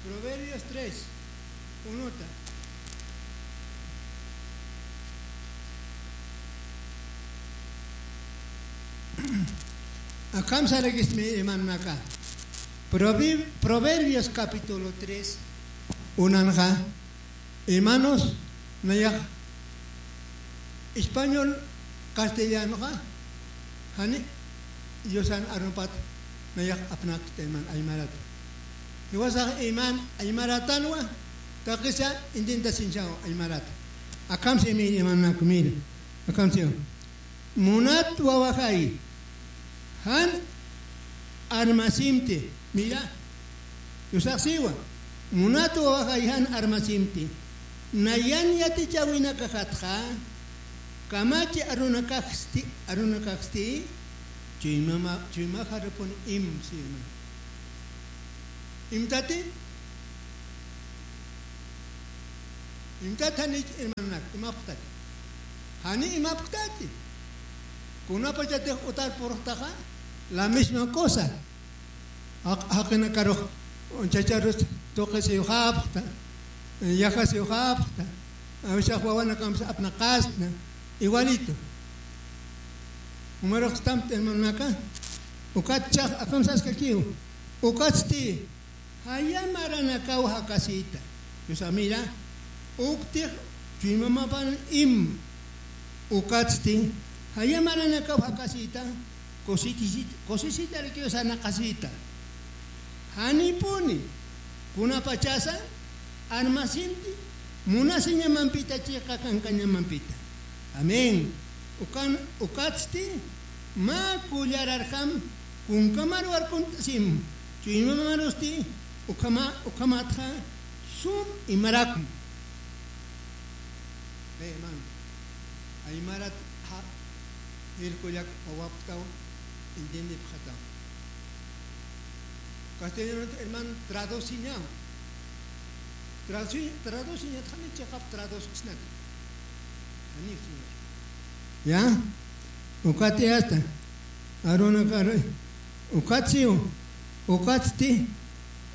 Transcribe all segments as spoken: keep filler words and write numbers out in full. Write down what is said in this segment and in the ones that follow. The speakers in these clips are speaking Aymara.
Proverbios tres, unota. Akham sarakistmi, hermanaka. Provi-, Proverbios capítulo tres, unanxa, hermanos, nayax español, castellanoxa, jani, Diosan arumpat, nayax apnakta, hermano, aymarat. Jiwasax, hermano, aymaratanwa, taqisa, intintasiñaw, aymarat. Akham simi, hermano, mira. Akham simi. Munat wawaxay, jan armasimti. Mira, yusaxsiwa. Munat wawaxay, jan armasimti. Nayan yatichäwinakaxatxa, kamachi arunakaxsti, arunakaxsti, chuymama, chuymaxarupun im, sima. Imtati, imtat janich, hermanonak, imapxtati. Jani imapxtati. Kunapachatix utar purxtaxa, la misma cosa. Jaq-, jaqinakarux, chacharus tuqisiwxapxta, yajasiwxapxta, a veces wawanakampis apnaqasna, igualito. Umaruxstamti, hermanonaka, ukat chax akham saskakiw, ukatsti, jaya maranakaw jakasita. Yusa, mira, uktix chuymamapan im, ukatsti, jaya maranakaw jakasita, cosechit-, cosechitarakiw sarnaqasita. Janipuni, kunapachasa, armasimti, munasiñamampita, chiqa kankañamampita. Amén. Ukan, ukatsti, mä kullararjam, kunkamar warkunt'asim, chuymamarusti, ukhama, ukhamatxa, sum imarakma. Ve, hermano. Aymarat, ja, irkullak wawapxtaw, entiendipxataw. Castellanot, hermano, traduciñaw. Traduci-, traduciñat, jani chiqap traducsinat. Jani, señor. Ya? Ukati hasta. Aruna kar-, ukatsiw. Ukatsti.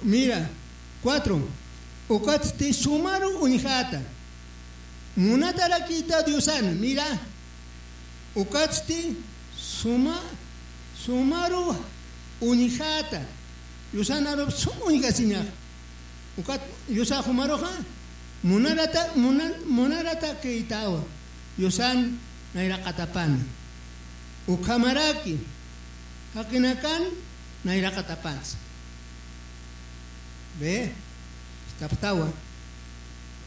Mira. Cuatro. Ukatsti sumaru uñjata. Munatarakita Diosan, mira, ukatsti suma, sumaru uñjata. Diosan arup sum uñjasiñax. Ukat Diosax umaruxa, munarata, muna-, munaratakïtawa. Diosan nayraqatapana. Ukhamaraki, jaqinakan nayraqatapansa. Ve, istapxtawa.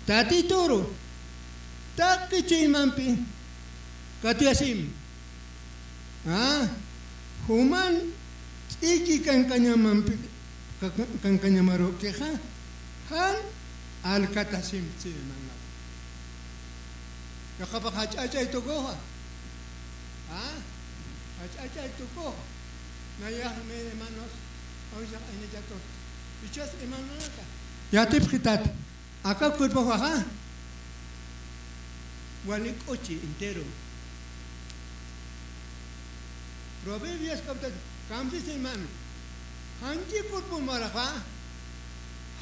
Tati turu, taqi chuymampi, katuyasim. Ah, juman ch'iki kankañamampi, ka-, ka-, kankañamarukixa, jan alkatasim, sí, hermano. Yaqapax jach'achay tukuxa. Ah, jach'achay tukuxa. Nayax, mi hermanos, awisa aynachatur. Ichas, hermanonaka. Yatipxitat. Aka cuerpoxaxa, wali k'uchi entero. Proverbios capítulo, kamsis, hermano. Janchi cuerpo maraxa,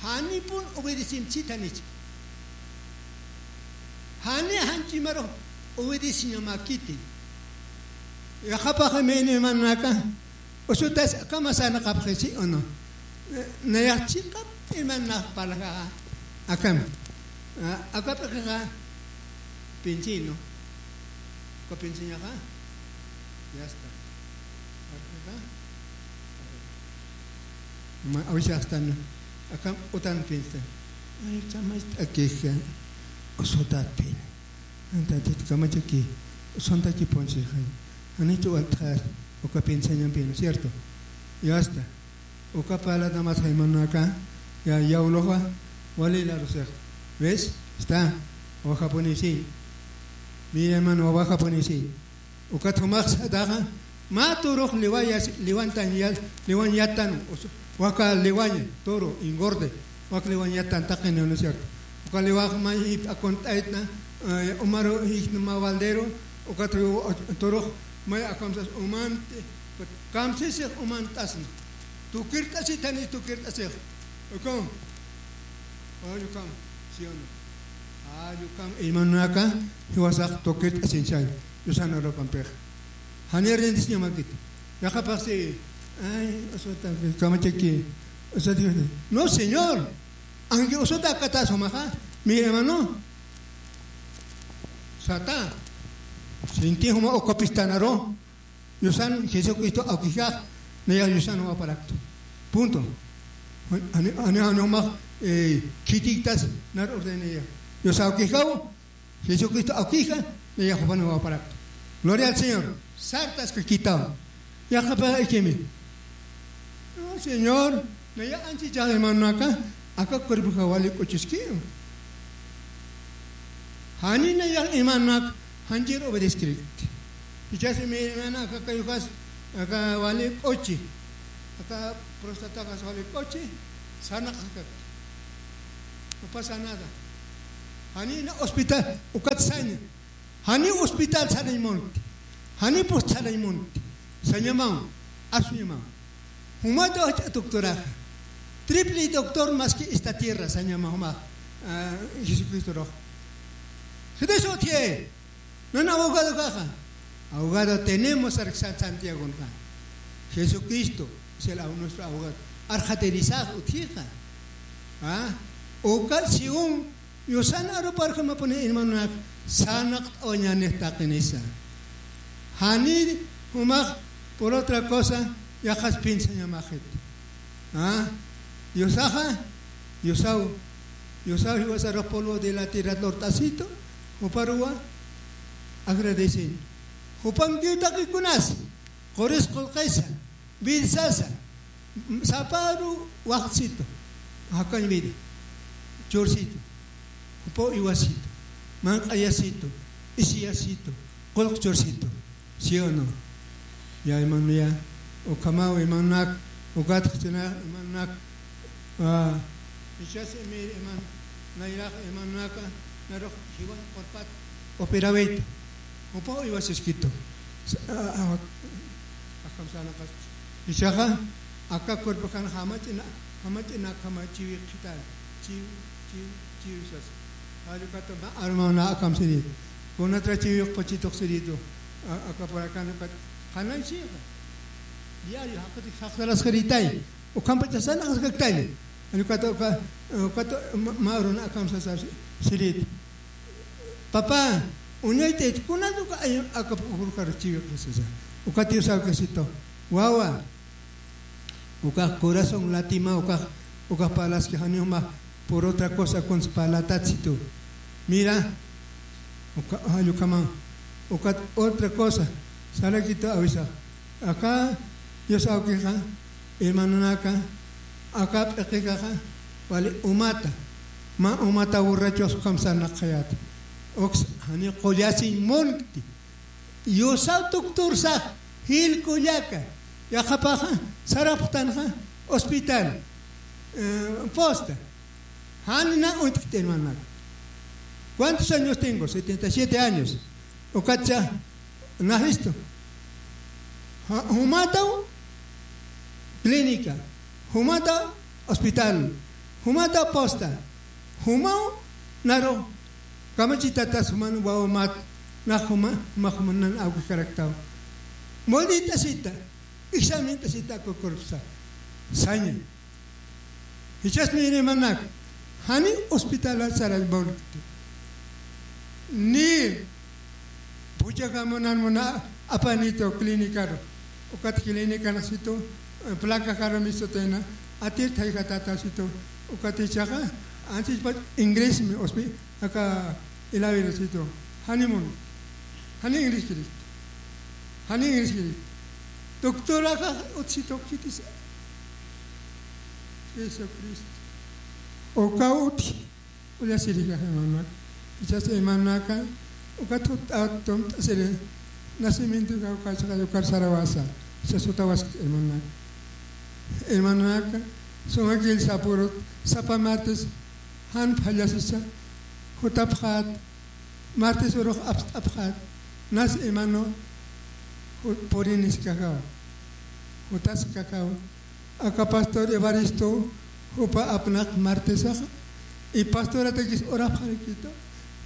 janipun obedecinchita nichi. Jani janchi maru obedeciñamakiti. Yaqapax, hermanonaka. Usutas akham sarnaqapxi, ¿sí o no? Nayax chiqap hermanonax parlaxa akham. Ah, aka p'iqixa pinsï, ¿no? Aka pinsïñaxa. Ya está. Aka p'iqixa. Ma, awisa astan. Akham utan pinsta. Ay, chamacht'akixa. Usutat pin. Entonces, kamachaki, sontakipunchixay. Janichu waltxar, uka pinsïñampi, ¿no es cierto? Ya está. Uka parlata mas, hermanonaka, ya, yawluxa, wali larusix. ¿Ves? Está. Wawajapuni sí. Mira, hermano, wawajapuni sí. Ukat jumax sataxa, mä turux liwayas, liwantan ya-, liwan yatan, us-, waka liwaña, toro, engorde, wak liwan yatan taqini, ¿no es cierto? Uka liwax mä jip akunt'aytna, eh, umaru jikna mä baldero, ukat turux may akamsas umanti, kamsisix umant'asna. Tukirt'asitani, tukirt'asix. Uka, Ay, ukham, ¿sí o no? Ay, ukham, hermanonaka, jiwasax tuqirt'asiñchay, Diosana arupampixa. Jani rindisiñamakiti. Yaqapaxsi, ay, usata, kamachaki, usata, no, Señor. Anki usata akata sumaxa, mi hermano. Sata. Sinti juma ukapistanaru. Diosan Jesucristo awkijax, nayax Diosan wawaparaktu. Punto. Ani, ani, ani jumax, eh, khitiktas nar ordenaya. Dios awkijaw, Jesucristo awkija, nayax jupan wawaparaktu. Gloria al Señor. Sartas kakitaw. Yaqapaxikimi. No, Señor, nayax anchi hermanonaka, aka cuerpoxa wali k'uchiskiw. Jani nayax hermanonak, janchir obedeskrikti. Jichhasi mi hermana aka kayukas, aka wali k'uchi, aka prostatakas wali k'uchi, sarnaqaskakti. No pasa nada. Jani na hospital, ukat saña. Jani hospital sarañ munti. Jani post sarañ munti. Sañamaw, asuñamaw. Jumata wach'a doctoraxa. Triple doctor más que esta tierra, sañama juma, ah, Jesucristo rox. Jesús utje. No, no, abogado kaxa. Abogado tenemos, ar San Santiago, ¿no? Jesucristo es el ab-, nuestro abogado. Arxatirisax utjixa. Ah, uka siun Diosan aruparjamapuni hermanonak, sarnaqt'awañanix taqinisa. Jani jumax por otra cosa, yaqas pinsañamaxit. Ah, Diosaxa, Diosaw, Diosaw jiwasarux polvo de la tierra lurt'asitu, juparuwa agradecen. Jupankiw taqikunas, quris qullqisa, Vilsasa, saparu waxsitu, jakañ vida, chursitu, jupaw iwasitu, manq'ayasitu, isiyasitu, qullq chursitu, ¿sí o no? Ya, hermano, ya, ukhamaw, hermanonak, ukat jichhana, hermanonak, ah, jichhas, hermano, nayrax, hermanonaka, narux, jiwan qurpat, operawitu, jupaw iwasiskitu. Sa-, a-, a-, akham sarnaqas. Jichhaxa, aka cuerpokan jamach'ina, jamach'ina, jama chiwi qhitan, chiwi, chiwi, chiwi sas. Jall ukata mä armawna akham siri. Kunatra chiwi q'uchituq siritu. A-, aka por acá no kat, qhanay sixa. Diario, jaqati jaqtaras qiritay. Ukhampacha sarnaqaskaktay. Jall ukata, uka, ukata mä, mä aruna akham sasa si-, sirit. Papá, uñaytayt, kunat uka ay-, aka p'ujurkaru chiwiq sasa. Ukat Dios awkisitu. Wawa. Ukax corazón latima, ukax, ukax parlaski jani jumax por otra cosa kuns parlatatsitu. Mira, uka, jall ukhaman. Ukat otra cosa. Sarakitu awisax. Aka Dios awkixa, hermanonaka, aka p'iqikaxa, wali umata. Mä umata borrachos ukham sarnaqayäta. Uks jani qullasiñ munkti. Diosaw doctorsax, jil kullaka. Yaqapaxa, sarapxtanxa, hospital, eh, posta. Jan na uñt'kti, hermano. ¿Cuántos años tengo? Setenta y siete años. Ukatcha, najistu. Ja-, jumataw clínica, jumataw hospital, jumataw posta, jumaw naru kamachitatas juman wawamat, na juma, juma, juman nan awkikaraktaw. Molditasita, examintasita kukurpsa. Saña. Jichhasmi, hermanonak, jani hospitalat sarañ munkti. Ni puchaka munan muna apanitu clínicaru. Ukat clínicanxitu, eh, placajaru mistutayna, atir thayjatatasitu. Ukat jichhaxa, anchhipach inglesmi hospi-, aka ilawirasitu. Jani mun. Jani ingleskiri. Jani ingleskiri. Doctoraxa utsitu khitisa. Jesucristo. Uka utji. Ullasirisxa, hermanonak. Jichhas hermanonaka, ukat jutt'at tumt'asiri. Nacimiento uka, uka, uka, ukar sarawasa. Jichhas jutawaskti, hermanonak. Hermanonaka, suma killsa purut, sapa martes, jan phallasisa, jutapxat, martes urux apst'apxat, nas hermano, ju-, puriniskajaw, jutaskajaw, aka pastor Evaristo, jupa apnaq martesaxa, Y pastoratakis orapxarakïta.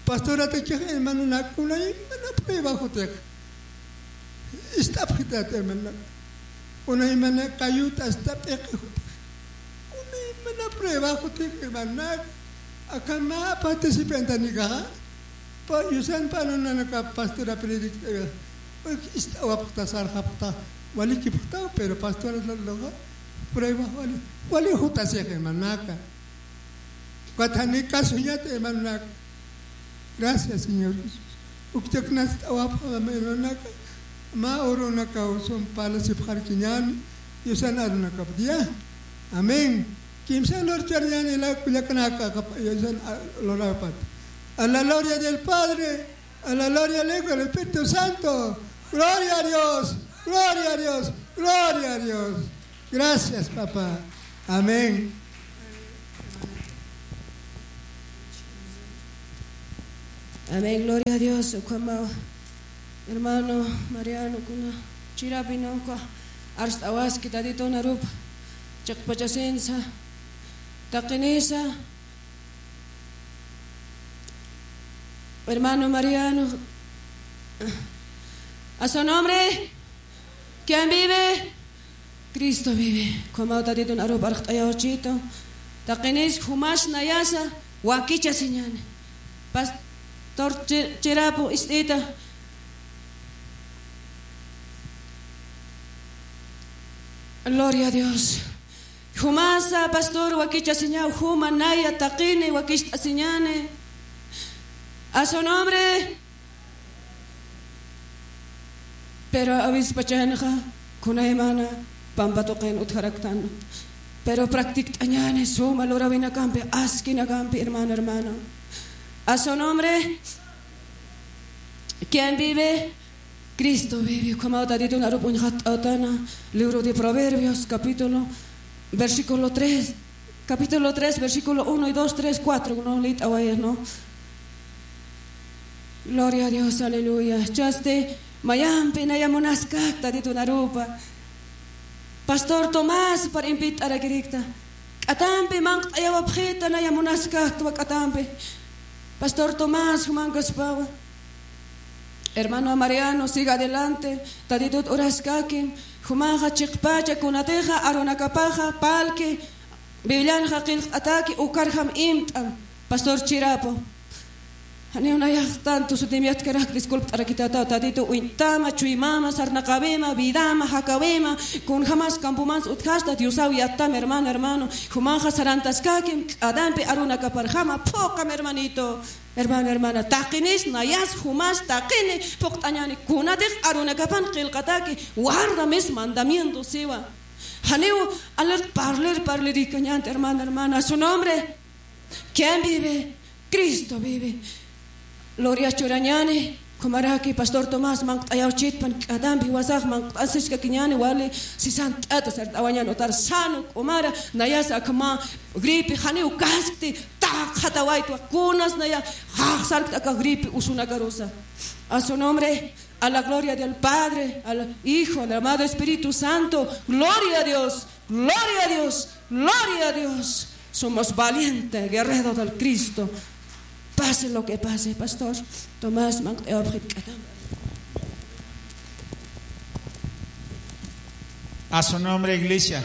Pastoratakix hermanonak kunaymana prueba jutix. Ist'apxitat hermanonak. Kunaymana kayut asta p'iqi jutix. Kunaymana prueba jutix hermanonak. Akham mä participantanikaxa. Pa, yusan panunanaka pastora predict'aga. Ist'awapxta, sarxapxta, walikipxta, pero pastora laloxa prueba wali, wali jutasix hermanonaka. Ukat jani kasuñat hermanonak. Gracias, Señor Jesús. Ukchaknast'awapxam hermanonaka. Mä urunakaw sum parlasipxarkiñäni. Yusan arunakap día. Amén. Kimsa lurchariñäni la kullaknaka, yusan a, lurapat. A la gloria del Padre, a la gloria del Hijo, del Espíritu Santo. Gloria a Dios, gloria a Dios, gloria a Dios. Gracias, papá. Amén. Amén, gloria a Dios. Ukhamaw, hermano Mariano, kuna chirapinaka arst'awaski Tatitun arupa chiqpachasinsa, taqinisa. Hermano Mariano, a su nombre, ¿quién vive? Cristo vive. Ukhamaw Tatitun arupa arst'ayawchitu. Taqinis jumas nayasa wakichasiñäni. Pastor Chi-, Chirapu ist'ita. Gloria a Dios. Jumasa pastor wakichasiñaw, juma naya taqini wakicht'asiñäni. A su nombre. Pero awispachanxa kunaymana pampa tuqin utjaraktan. Pero practict'añäni suma lurawinakampi, askinakampi, hermano, hermano. A su nombre. ¿Quién vive? Cristo vive. Ukhamaw Tatitun arup uñxatt'awtana, libro de Proverbios, capítulo, versículo tres, capítulo tres, versículo uno y dos, tres, cuatro, ¿no? Lït'awayas, ¿no? Gloria a Dios, aleluya. Chasti, mayampi naya munaskak Tatitun arupa. Pastor Tomás, para invitarakirikta. K'atampi manq't'ayawapxita naya munaskakta, k'atampi. Pastor Tomás, jumankaspawa. Hermano Mariano, siga adelante. Tatitut uraskakim. Jumanxa chiqpacha kunatixa, arunakapaxa, parlki, Biblianxa qillqt'ataki, ukarjam imt'am. Pastor Chirapu. Janiw nayax tanto sutim yatkarak, disculpt'arakitata, Tatitu uñtama, chuymama, sarnaqawima, vidama, jakawima, kunjamas campomans utjasta, Diosaw yattam, hermano, hermano. Jumanxa sarantaskakim, k'atampi arunakaparjama, phuqam, hermanito. Hermano, hermana, taqinis, nayas, jumas, taqini, phuqt'añäni, kunatix arunakapan qillqataki, guarda mis mandamientos, siwa. Janiw, alir, parlir, parlirikañänti, hermano, hermana, su nombre. ¿Quién vive? Cristo vive. Gloria churañäni, kumaraki, Pastor Tomás, manq't'ayawchitpan, k'atampi jiwasax manq't'asiskakiñäni, wali, sisant'ata, sart'awañäni, utar sano, k'umara, nayas akhama, gripe, janiw kaskti, taqjatawaytwa, kunas naya, jaxsarkta aka gripe, usunakarusa. A su nombre, a la gloria del Padre, al Hijo, al amado Espíritu Santo. Gloria a Dios, gloria a Dios, gloria a Dios. Somos valiente, guerrero del Cristo. Pase lo que pase, pastor. Tomás, manq't'ayawapxit k'atam. A su nombre, iglesia.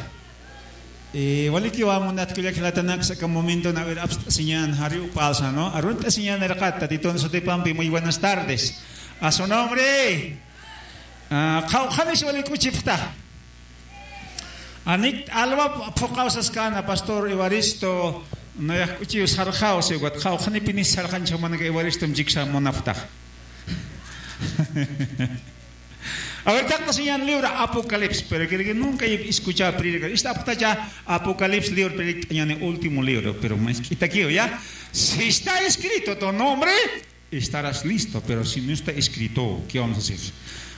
Eh, walikiwa munat kullak jilatanaks, aka momento na ver apst'asiñän jariw pasa, ¿no? Arunt'asiñän irqat, Tatitun sutipampi, muy buenas tardes. A su nombre. Ah, qhawqhanis wali k'uchipxta. Anik alwa phuqaw saskana, Pastor Evaristo, nayax k'uchiw sarxaw, siwkat qhawqhanipinis sarxanchixmanaka Evaristom chiksa munapxta. A ver, taqtasiñän libro Apocalipsis, pero creo que nunca he escuchado predicar. Esta aptacha Apocalipsis libro predicañäni, último libro, pero más quitaqueo, ¿ya? Si está escrito tu nombre, estarás listo, pero si no está escrito, ¿qué vamos a hacer?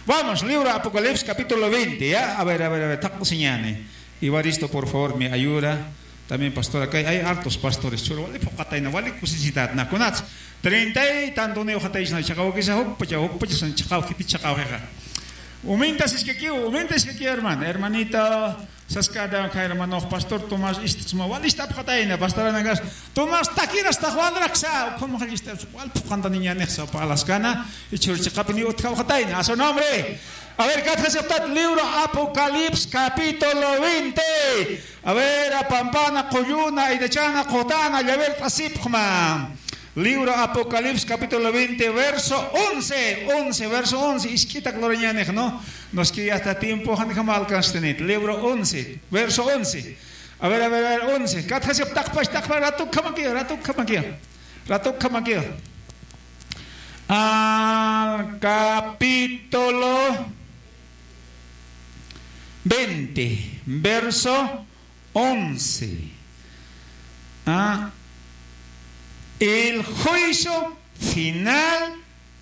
Vamos, libro Apocalipsis, capítulo veinte, ¿ya? A ver, a ver, a ver, taqtasiñäni. Evaristo, por favor, me ayuda. También pastor, acá hay hartos pastores. Churu, wali phuqatayna, wali kusisitatna. Kunats, treinta y tanto ni ujataychna, chaqawakisa, jukpacha, jukpacha, san chaqaw, jiti chaqaw, jeja. Uminta siskakiw, uminta siskakiw, hermano, hermanita. Saskata, hermano, pastor Tomás, ist'sma, wal ist'apxatayna, pastor Anagas, Tomás, takiras, tax walraksa, ukham jallista, wal phuqantaniñanix, sapa alaskana, y churchiqapini utjawxatayna, a su nombre. A ver, katjasiptat, libro Apocalipsis, capítulo veinte. A ver, apampana, qulluna, aydachana, qutana, llaver, t'asipxma. Libro Apocalipsis, capítulo veinte, verso once, once, verso once, isk'itak lurañanix, ¿no? Nos que ya está tiempo, jan jama alcanztenit. Libro once, verso once. A ver, a ver, a ver, once. Katjasip taqpash, taqpash, ratuk jamakiya, ratuk jamakiya. Ratuk jamakiya. Al capítulo veinte, verso once. Ah, el juicio final,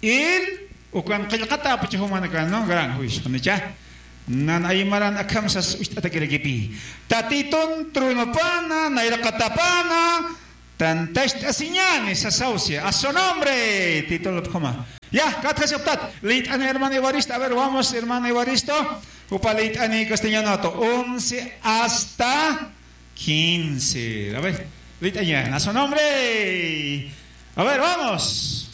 el, ukan qillqata apuchajumanakan, ¿no? Gran juicio, ¿no? Ya. Nan aymaran akham sas ucht'atakirakipi. Tatitun trunupana, nayraqatapana, tantacht'asiñani sasawsi. A su nombre, título pjuma. Ya, katjasiptat. Leyt'ani hermano Evaristo. A ver, vamos, hermano Evaristo. Upa leyt'ani castellano to. Once hasta quince. A ver, leyt'aña. A su nombre. A ver, vamos.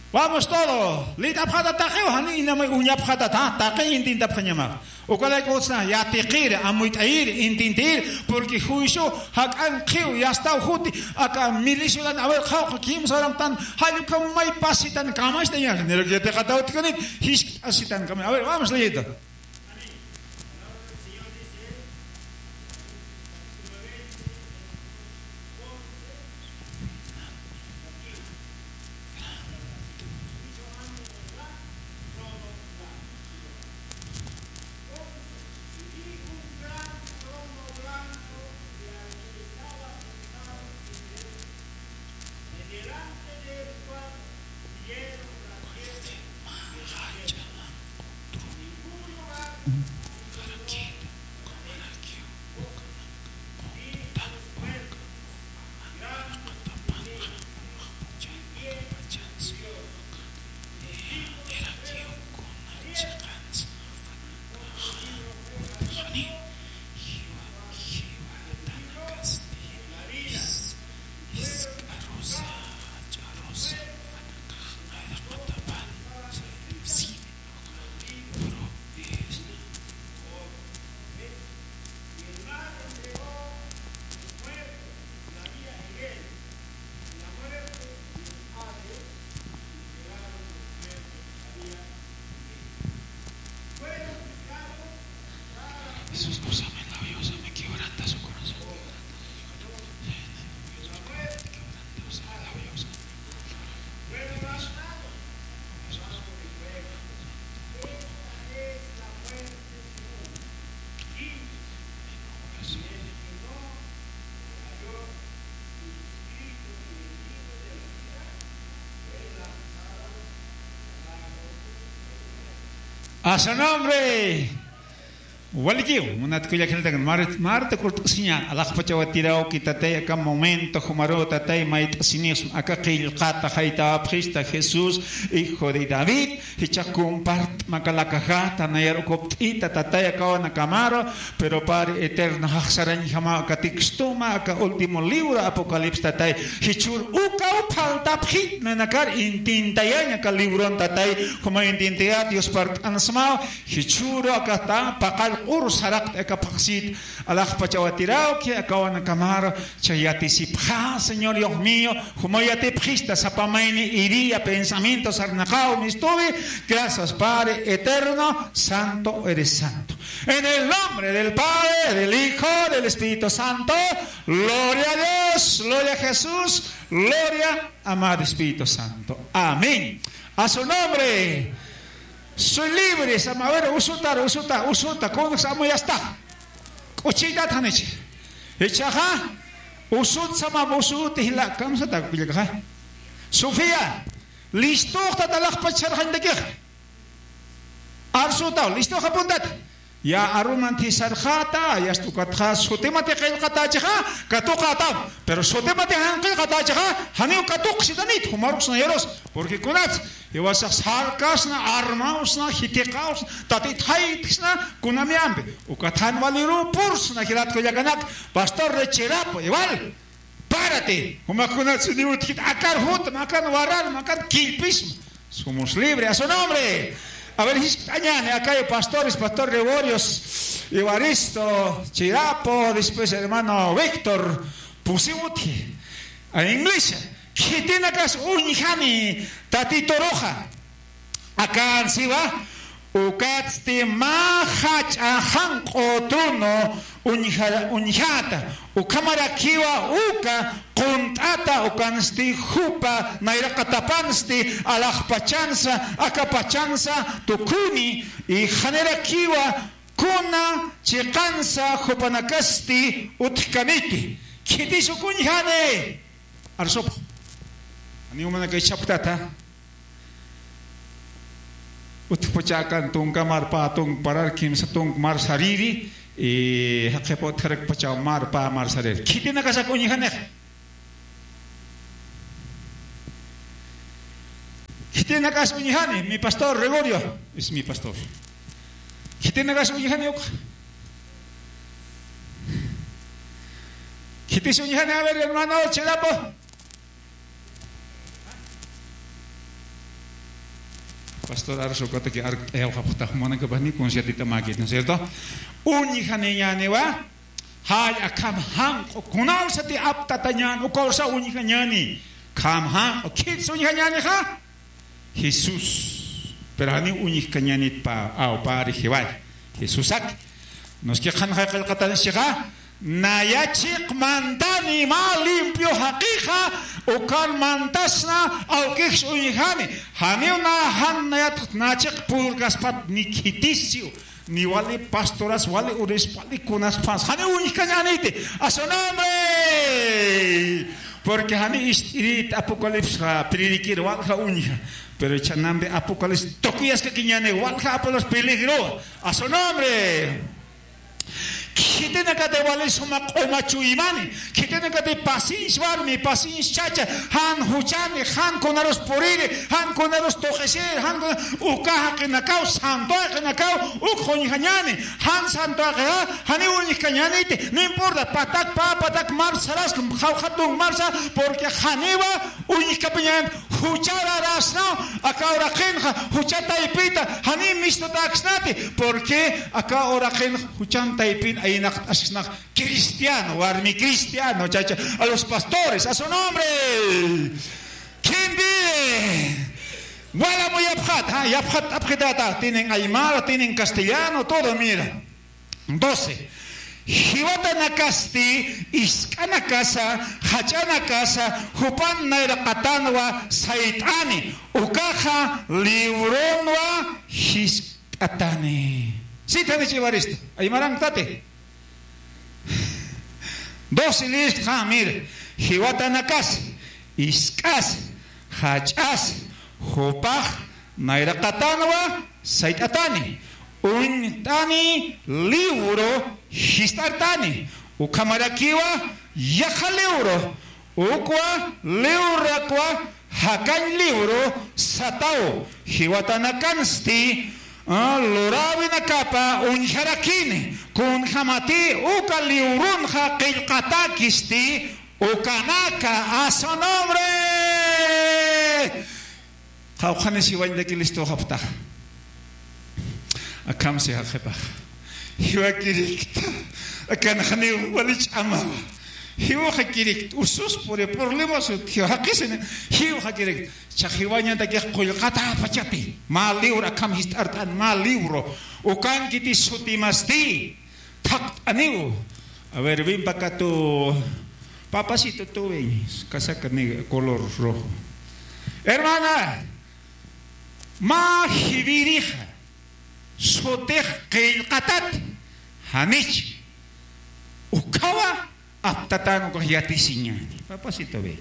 Vamos todo. Leyt'apxata taqiw, jani inamay uñapxata, ta, taqi intintapxañama. Ukalaykutsa, yatiqir, amuyt'ayir, intintir, porque juicio jak'an qhiw, yastaw juti, aka miliciulan, a ver, qhawqa kimsa horamtan, jallukam may pasitan kamastaña, niruk yatiqataw utjkanit, jiskt'asitan kama. A ver, vamos leyendo. Jesús, úsame, labia, úsame, quebranta su corazón, quebranta su corazón, quebranta, úsame, labia, úsame. A su nombre. Walikiw, munat kullakilatakan, mar-, marta kurt'asiñan, alaxpachaw atirawki tatay, aka momento, jumaru tatay, mayt'asinix, aka qillqata, jaytawapxista, Jesús, hijo de David, jichha compart'ma aka lakajata, nayar ukupt'ita, tatay, akawanakamaru, pero Padre Eterno, jaxsarañjama aka textoma, aka último libro, Apocalipsis, tatay, jichhür ukaw faltapxi, nanakar intintayañ aka libron, tatay, juma intintayat, Dios parlt'ansmaw, jichhüru akata, paqall q'ur saraqta aka phaxsit, alaxpachaw atirawki, akawanakamaru, chay yatisipxa, Señor Dios mío, juma yatipxista, sapa mayni idea, pensamiento, sarnaqaw, mistuwi, gracias, Padre eterno, santo eres santo. En el nombre del Padre, del Hijo, del Espíritu Santo, gloria a Dios, gloria a Jesús, gloria amado Espíritu Santo. Amén. A su nombre. Soy libre, sama, a ver, usutar, usuta, usuta, kunsa amuyasta. K'uchiytat janichi. Jichhaxa, usut, sama, usut, jila, kamsata, kullakaxa. Sofía, listuxtat alaxpach sarxañtakix. Arsutaw, listuxa apuntat. Ya aruman thisarxata, yasta ukatxa sutimati qillqatachixa, katuqatam. Pero sutimati jan qillqatachixa, janiw katuqsitanit, jumarux nayarus. Porque kunats, iwasax sarkasna, armawsna, jitiqawsna, tatit jaytksna, kunamyampi. Ukat jan walirupursna, jilat kullakanak, pastor Richirapo, igual. Párate, jumakunats ni utjit, akan jutma, akan wararma, akan killpisma. Somos libre, a su nombre. A ver, jiskt'añäni, acá hay pastores, pastor Gregorios, Evaristo, Chirapo, después hermano Víctor, pusi utji. A iglesia, khitinakas uñjani, tatituruxa. Akan siwa, ukatsti mä jach'a janq'u trono uñja-, uñjata, ukhamarakiwa uka qunt'ata, ukansti jupa nayraqatapansti alaxpachansa, akapachansa tukuni, y janirakiwa kuna chiqansa jupanakasti utjkaniti. Khitis uk uñjani. Arsupx. Ani umanakay chaptata. Utjpachakan tunka marpa tunk parar kimsa tunk mar sariri, y jaqip utjarakpachaw marpa mar sariri. Khitinakasak uñjanix. Khitinakas uñjani, mi pastor Gregorio, es mi pastor. Khitinakas uñjani uk. Khitis uñjani, a ver, hermano, Chirapo. Pastor Arso, kotaki ark, eh, uka puta, humana que bani conciertita maki, ¿no es cierto? Uñjaniñaniwa, jay akham janq'u, kunawsati aptatañän, ukawsa uñjañäni, kham janq'u, khits uñjañänixa, Jesús. Pero janiw uñjkañänit pä, aw, pä rixiway. Jesusak. Nos que qhanxay qillqatansixa, naya chiq mantani mä limpio jaqixa, ukan mantasna, awkix uñjani. Janiw na jan nayat na chiq purgaspat ni khitisiw. Ni wali pastoras, wali uris, wali kunas pas. Janiw uñjkañäniti. A su nombre. Porque jani ist'irit Apocalipsis, ah, predikir walja uñja. Pero chanambi Apocalipsis tokiyaskakiñäni walja Apocalipsis peligro. A su nombre. Khitinakati wali suma q'uma chuymani. Khitinakati paciencia warmi, paciencia chacha. Jan juchani, jan kunarus puriri, jan kunarus tuqisiri, jan kuna-, uka jaqinakaw, santo jaqinakaw, uk uñjañäni. Jan santo jaqixa, janiw uñjkañäniti. No importa, patak pä, patak mar saras, jawja tunk mar sar, porque janiwa uñjkapiñän, juchar arasnaw, aka uraqinxa, jucha taypita, janiw mistutaksnati, porque aka uraqinxa, juchan taypin, aynaqt'asksnax, cristiano, warmi cristiano, chacha, a los pastores, a su nombre. ¿Quién vive? Wala muyapxat, ha, yapxat, apxitata, tienen aymara, tienen castellano, todo, mira. Doce. Jiwatanakasti isk'anakasa, jach'anakasa, jupan nayraqatanwa sayt'ani, ukaxa libronwa jiskt'atani. Sitani chiwarista. Aymaranktati. Doce lista, mira. Jiwatanakas, isk'as, jach'as, jupax nayraqatanwa sayt'atani, uñt'ani libro jist'artani, ukhamarakiwa yaqha libro, ukwa librakwa jakañ libro sataw, jiwatanakansti, ah, luräwinakapa uñjarakini, kunjamati uka libronxa qillqatäkisti, ukanaka, a su nombre. Qawqhanis jiwañataki listuxapxtaxa. Akham si jaqhipax. Jiwakirikta. Akan janiw wali ch'amawa. Jiwxakirikta. Usus puri problemas jiwxakisini. Jiwxakirikta. Cha jiwañatakix qullqatäpachapi. Mä libro akham jist'art'an mä libro. Ukankiti sutimasti. Thaqt'aniw. A ver, ven pa' acá tú. Papacito, tú ven. Casaca negra, color rojo. Hermana, mä jiwirixa sutix qillqatat, janich. Ukhawa aptatan ukax yatisiñäni. Papacito, ven.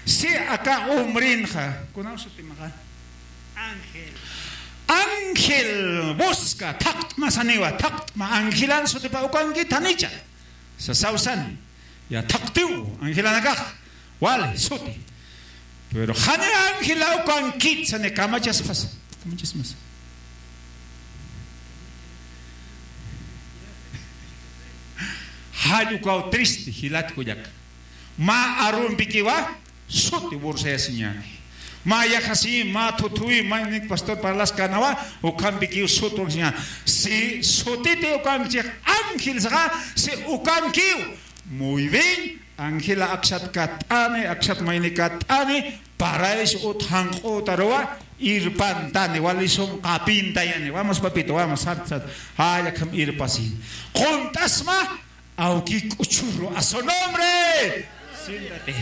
Si aka hombrenxa, kunaw sutimaxa? Ángel. Ángel busca, thaqt'ma saniwa, thaqt'ma, angelan sutipa ukankit janicha. Sasaw sani. Ya thaqtiw, angelanakax. Wali, suti. Pero jani angela ukankit sani kamachaspas. Kamachaspas. Jall ukaw triste, jilat kullaka. Mä arumpikiwa, suti bursayasiñäni. Mä yajasi, mä thuthuwi, mä nik pastor parlaskänawa, ukhampikiw sut wankasiñäni. Si sutiti ukankichix ángel saxa, si ukankiw. Muy bien, angela aksat katt'ani, aksat mayni katt'ani, paraysi ut janq'utaruwa, irpantani, wali sum qapintayani. Vamos, papito, vamos, sat, sat. Jall akham irpasi. Qunt'asma, awki k'uchuru, a su nombre. Siéntate.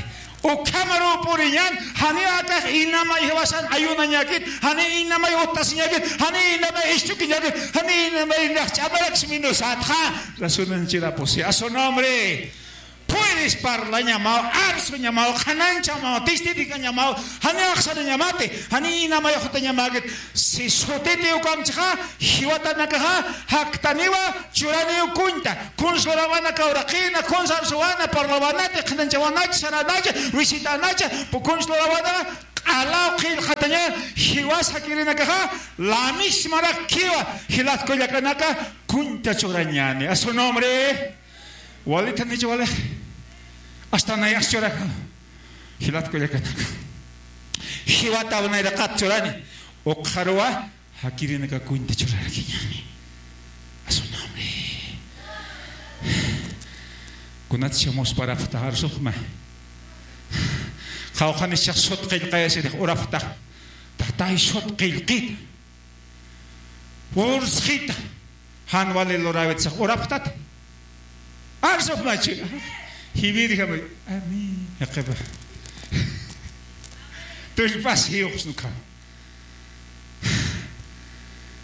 Ukhamaru puriñan, jani akax inamay jiwasan ayunañäkit, jani inamay utasiñäkit, jani inamay isch'ukiñäkit, jani inamay nax ch'amaraksminusatxa. Rasunanchirapusi, a su nombre. Puedes parlañamaw, arsuñamaw, qhananchamaw, testificañamaw, jani axsarañamati, jani inamay jutañamäkit. Si sutiti ukamchixa, jiwatanakaxa, jaktaniwa, churaniw kuñta. Kuns lurawanaka uraqina, kuns arsuwana, parlawanati, qhananchawanach, saranach, visitanacha, pu kuns lurawana, q'alaw qillqataña, jiwas jakirinakaxa, la mismarak kiwa, jilat kullakanaka, kuñta churañani. A su nombre. Walitanicha wali. Hasta nayax churaka. Jilat kullakanaka. Jiwataw nayraqat churani. Ukxaruwa, jakirinaka kuñta churarakiñani. A su nombre. Kunat shamus parapxta arsuxma. Qawqhanis chax sut qillqayasirix urapxta. Tatay sut qillqita. Ursxita. Jan wali luräwit sax urapxtat. Arsuxmachi. Jiwirjamay. Amén. Jaqhipa. Tullpas jiwxsnukam.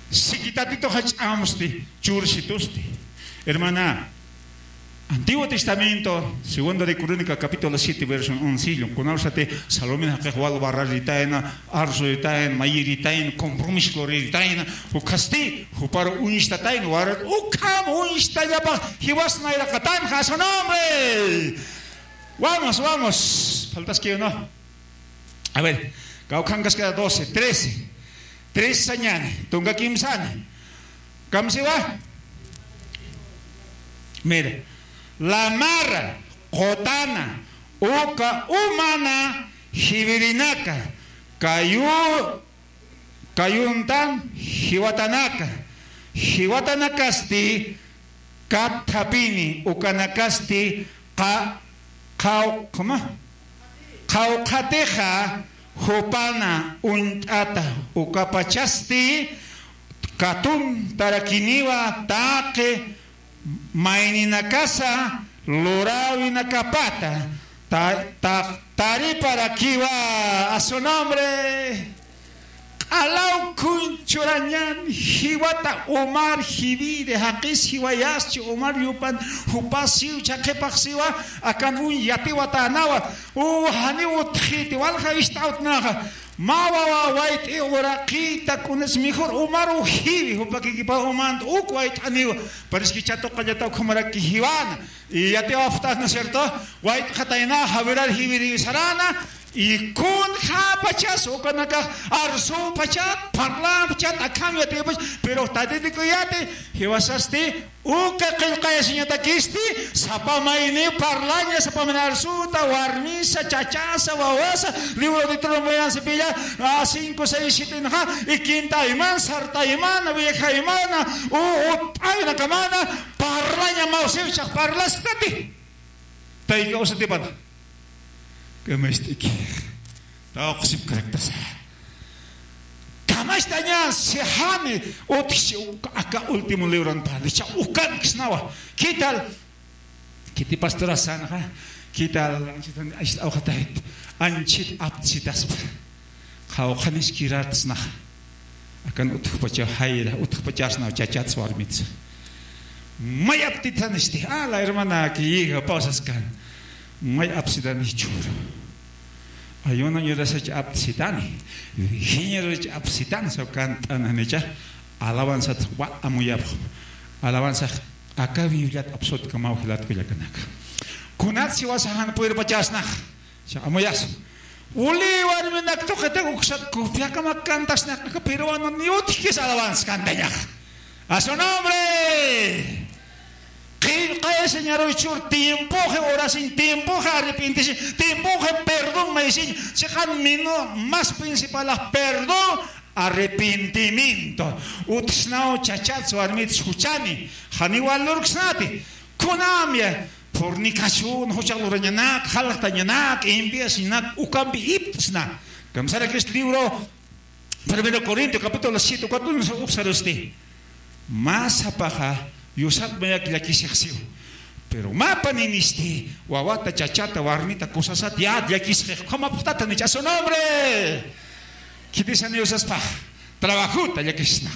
Siki Tatituxa ch'amsti, chursitusti. Hermana, Antiguo Testamento, Segunda de Crónica, capítulo siete, verso once, kunawsati Salomé jaqix wal barraritayna, arsuritayna, mayiritayna, compromiso luritayna, ukhasti, jupar uñstatayna, warar, ukham uñstañapax, jiwas nayraqatanxa, a su nombre. Vamos, vamos. Faltaski uno. A ver, kawkhankaskara doce, trece. Tres sañani, tunka kimsani. Kamsiwa. Mira, lamar, qutana, uka umana, jiwirinaka, kayu, kayuntan, jiwatanaka, jiwatanakasti, kathapini, ukanakasti, qa, qaw, ¿cómo? Qawqhatixa jupana uñt'ata ukapachasti katuntarakiniwa taqi mayninakasa luräwinakapata ta, ta, tariparakiwa a su nombre. Q'alaw kuñ churañan, jiwata umar jiwiri, jaqis jiwayaschi umar yupan, jupas siw chhaqhipax siwa, akan uñ yatiwatänawa, u janiw utjiti, walja ist'awtnaxa, mä wawa wayt'i uraqita, kunas mejor umaru jiwi, jupakikipa umant uk wayt'aniwa, pero es que chatuqallata ukhamaraki jiwana, y yatiwapxt'at, ¿no es cierto? Wayt'xatayna, jawirar jiwiriwi sarana, y kunjapachas ukanakax arsupachat, parlampachat, akham yatipach, pero Tatitikuy yati, jiwasasti, uka qillqayasiñatakisti, sapa mayni parlaña, sapa mayni arsuta, warmisa, chachasa, wawasa, libro de Deuteronomio pilla, a cinco, seis, siete, ¿no? Y quinta imana, sarta imana, vieja imana, u, u, ay, nakamana, parlaña, mawsiw, chaq parlastati. Tayka usatipana. Kamacht'iki. Tawqsipkaraktasa. Kamacht'aña sijani utjchi aka último libron pani. Cha ukanksnawa. ¿Qué tal? ¿Qué te pastora sanxa? ¿Qué tal? Anchit, anchit awxatayt. Anchit aptsitaspa. Qhawqhanis kirartsnaxa. Akan utjpachaw jayra, utjpachasnaw chachats warmits. May aptitanisti, a la hermana que llega, pasas kan. May apsitanichur. Ayuno ñurasach apt'sitani, Virginia ñurasach apt'sitani, saw kant'an janicha, alabanzat wa amuyapxam. Alabanzax aka Bibliat apsutkamaw jilat kullakanaka. Kunat siwasa jan puyrpachasnax, cha amuyas. Uli warminak tuqita uksat copiakamak kantasnax, aka peruano ni utjkis alabanza kantañax. A su nombre. Qillqay Señor, uchur tiempoxi orasiñ, tiempoxi arrepentisiñ, tiempoxi perdón maysiñ, chiqan minu más principalax perdón, arrepentimiento. Utjsnaw chachats warmits juchani, janiw valorksnati, kunamya fornicación, juchax lurañanak, jaljtañanak, envidiañanak, ukampi ipt'sna. Kamsarakis libro Primero Corinto capítulo siete, cuatro, uksarusti. Mä sapaxa yusat mayak llakisixsiw. Pero mä paninisti wawata, chachata, warmita, kusasat yat llakisxix, ukhamapxtata nicha su nombre. Khitisani yusaspax trabajota llakisnax.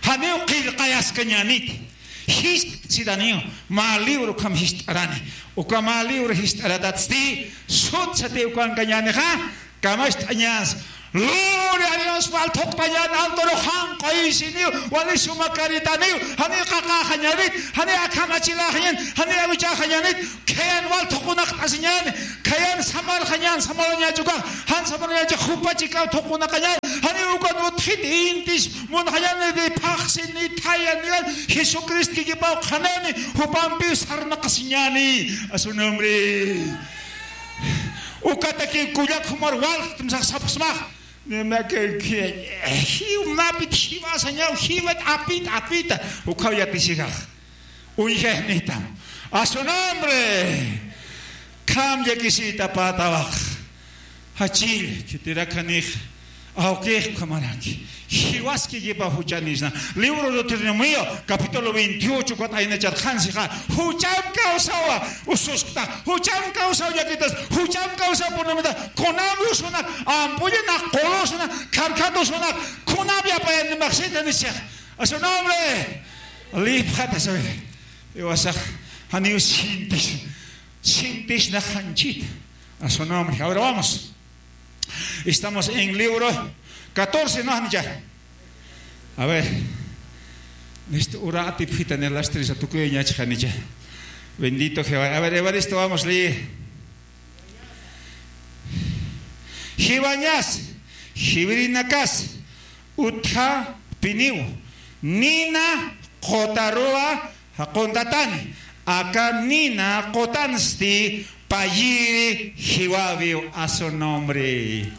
Janiw qillqayaskañäniti. Jiskt'sitaniw, mä libro ukham jist'arani. Uka mä libro jist'aratatsti, sutsati ukankañänixa, kamacht'añäs. Gloria a Dios, wal thuqtañän, altoru janq'aysiniw, wali suma karitaniw, janiw qaqäxañänit, janiw akham achiläxañän, janiw awichäxañänit, khayan wal thuqunaqt'asiñäni, khayan samarxañän, samarañächi ukax, jan samarañächi, jupa chikaw thuqunaqañän, janiw ukan utjit intis, munxañäni, ni phaxsi, ni thaya, ni, Jesucristo kikipaw qhanani, jupampiw sarnaqasiñäni, a su nombre. Ukatakiw kullak jumar walt't'msax sapxsmax. Nima que, que, jiw mapit jiwasañaw, jiwat apit, apita. Ukhaw yatisijax. Uñjaynitam. A su nombre. Kham llakisita patawax. Jachil, khitirakanix. Awkix ukhamaraki. Jiwaskikipa juchanisna. Libro Deuteronomio, capítulo veintiocho, ukat aynachat qhansixa. Jucham kawsawa ususkta. Jucham kawsaw llakitas. Jucham kawsaw punamita. Kunam usunak. Ampullanak, qulusnak, kharkhat usunak. Kunam yapayanimaxsita nisix. A su nombre. Lipxata sabe. Iwasax. Janiw sintis. Sintisna janchit. A su nombre. Ahora vamos. Estamos en libro catorce, ¿no, janicha? A ver. Listo, ura atipxitan las tres a tukuyañachi janicha. Bendito Jehová. A ver, Evaristo, vamos, lee. Jiwañas, jiwirinakas, utjapiniw, nina qutaruwa, jaquntatani, aka nina qutansti payiri jiwawiw a su nombre.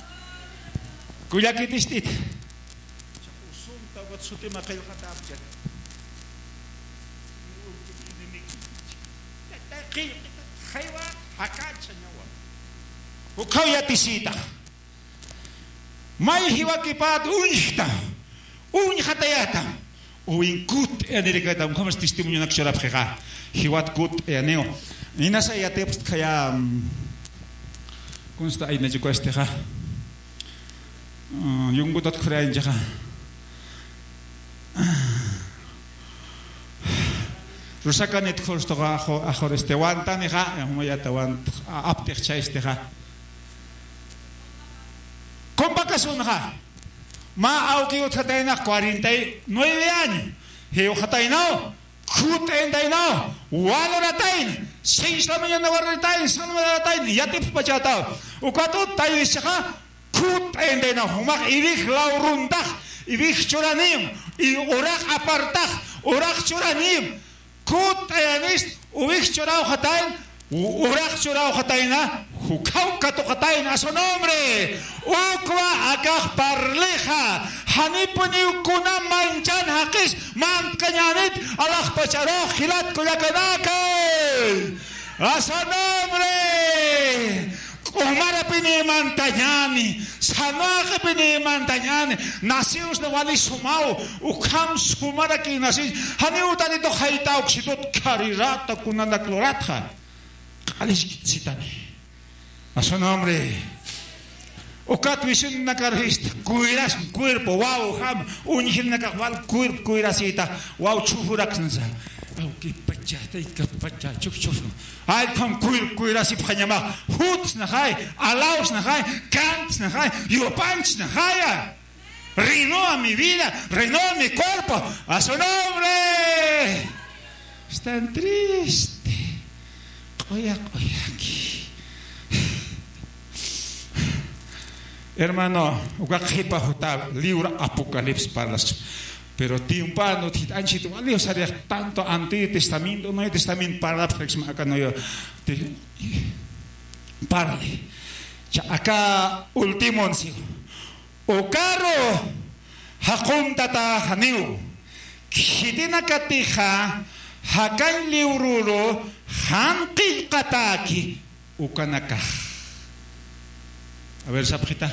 Kullakitist'it. Usunta ukat sutima qillqatapcha. Qillqita, jaywa, jakachañawa. Ukhaw yatisita. May jiwakipat uñjta, uñjatayata, uwin kutt'ayanirikata, ukhamas testimonionak churapxixa, jiwat kutt'ayaniw. Inasa yatipxt khaya, mm, kunsta aynachukastixa. Mm, yungutat khurayanchaxa. Rusakanit khurstuxa axu-, axur este, wantanixa, jumayata want-, a-, aptix chaystixa. Compakasunxa. Mä awki utjataynax cuarenta y nueve año. Jiwxataynaw, kutt'ayantaynaw, valoratayna, seis la mañana valoratayna, seis la mañana valoratayna, yatipxpachataw. Ukat utt'aynichaxa, kutt'ayantaynaw, jumax iwij lawruntax, iwij churanim, y uraq apartax, uraq churanim. Kutt'ayanist, uwij churawxatayna, u-, uraq churawxatayna, jukhaw katuqatayna, a su nombre. Ukwa akax parlixa, janipuniw kuna manchan jaqis, mantkañänit, alaxpacharux jilat kullakanaka. A su nombre. K'umarapiniw mantañäni, sanwaqipiniw mantañäni, naciwsna wali sumaw, ukham sumaraki naciw, janiw utanitux jaytawksitut, kharirata kunanak luratxa, q'aliskitsitani. A su nombre. Ukat wisunakar jista, cuiras cuerpo, wawjam, uñjinakax wal cuerpo cuirasita, waw chhujuraksnsa. Pawkipacha, taykapacha, chukchus. Ay, kham kuyr, kuyrasipxañamax. Jutsnaxay, alawsnaxay, kantsnaxay, yupanchsnaxaya. Renueva mi vida, renueva mi cuerpo. A su nombre. Están triste. Q'uya, q'uyaki. Hermano, uka qhipa juta libro Apocalipsis parlas. Pero tiempo no te anchito, wali usarix tanto Antiguo Testamento, Nuevo Testamento parla, pues, acá no yo te parle. Cha, acá último anuncio. Ukaru jaquntataxaniw, khitinakatixa jakañ liwruru jan qillqatäki ukanakax. A ver, sapxita.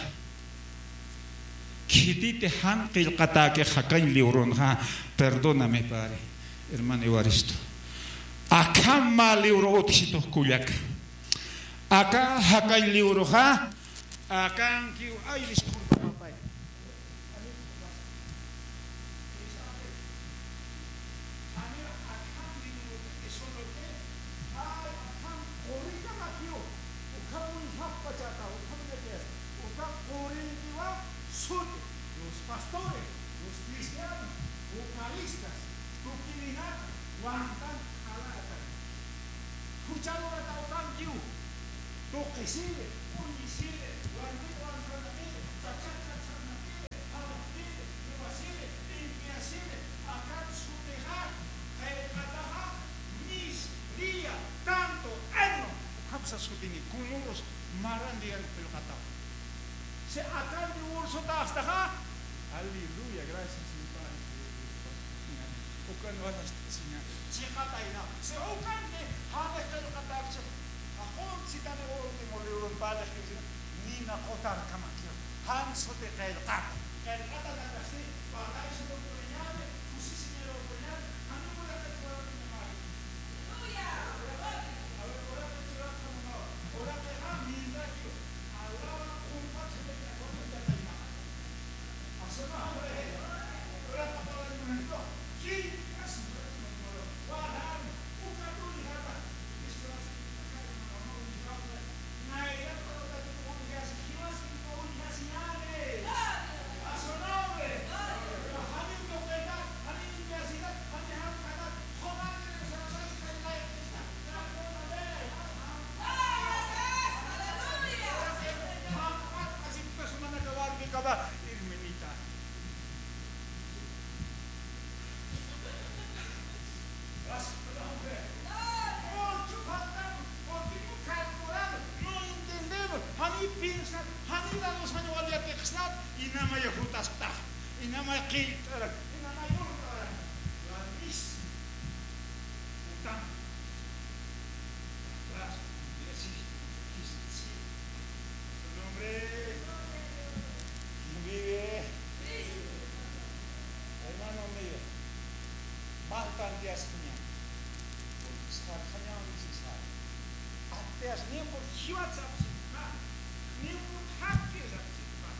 Khititi jan qillqatäki jakañ liwrunxa, perdóname, Padre, hermano Evaristo. Akham mä liwru utjsitux kullaka. Aka jakañ liwruxa, akankiw, ay, disculpa, papay. Los pastores, los cristianos, vocalistas, tukirinak, wantan, jalatan. Jucharurata utankiw. Tuqisiri, uñisiri, wanti wansanakiri, chachachachanakiri, jalapkiri, niwasiri, limpiasiri, akat sutixa, qillqataxa, mis, día, tanto, año, ukhamsa sutini, kunuros, marandian qillqataxa. Si akan divorcio tastaxa, aleluya, gracias, mi Padre. Ukan watas siña. Chiqatayna. Si ukan ni, jani qillqatakchi. Aqum sitani último libro Padre, nina qotar kamakiw. Jan suti qillqat. Qillqata nakasti, Padre, si no puñani, kusisi ni lo puñani, jani puñani. Jani piensar, jani dados, jani wal yatiqsnat, inamaya jutasktax, inamaya qillqt'arak, inamaya urqarak. Jutam. Su nombre. ¿Quién vive? Hermano mío, mä tantiasxaña. Porque sxarxañaw nisisar. Tantias ni por jiwat sapxsipxä, ni por jaqkir sapxsipxä.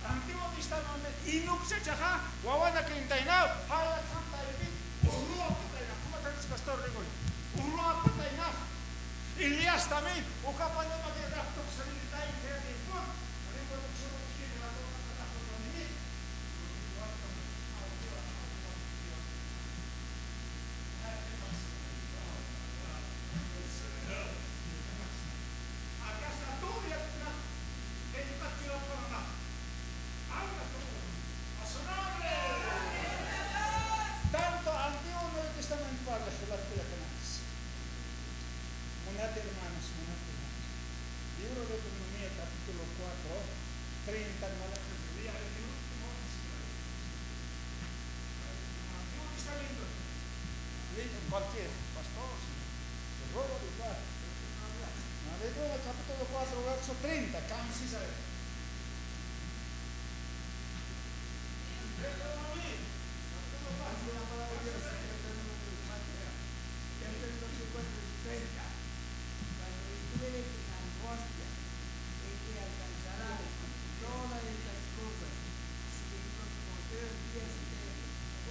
Antiguo Testamento inukchachaxa, wawanakintaynaw, jala kantaypit, urruwapataynax, como tal pastor Gregorio, urruwapataynax. Elías también, uka panema que rapto salirtay, que ni por, ni por, Tanto Antiguo Nuevo Testamento parla, munat hermanos, munat hermanos. Libro de Deuteronomio, capítulo cuatro, treinta, hermano, el último, Antiguo Testamento. Lean cualquier pastor, si no, se roba el lugar. Aleluya, capítulo cuatro, verso treinta, ¿qué dice? Cuando estuve en angustia, en que alcanzará todas estas cosas, si en los postreros días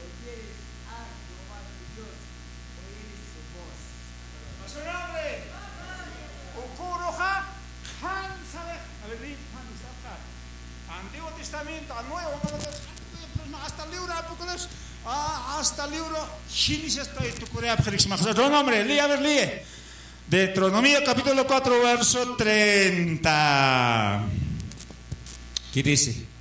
oyeres a Jehová tu Dios, Antiguo Testamento, a Nuevo, hasta el libro Apocalipsis, ah, hasta el libro Génesis, estoy tu Corea, Félix Max. Otro nombre, lee, a ver, lee. Deuteronomio capítulo cuatro, verso treinta. ¿Qué dice?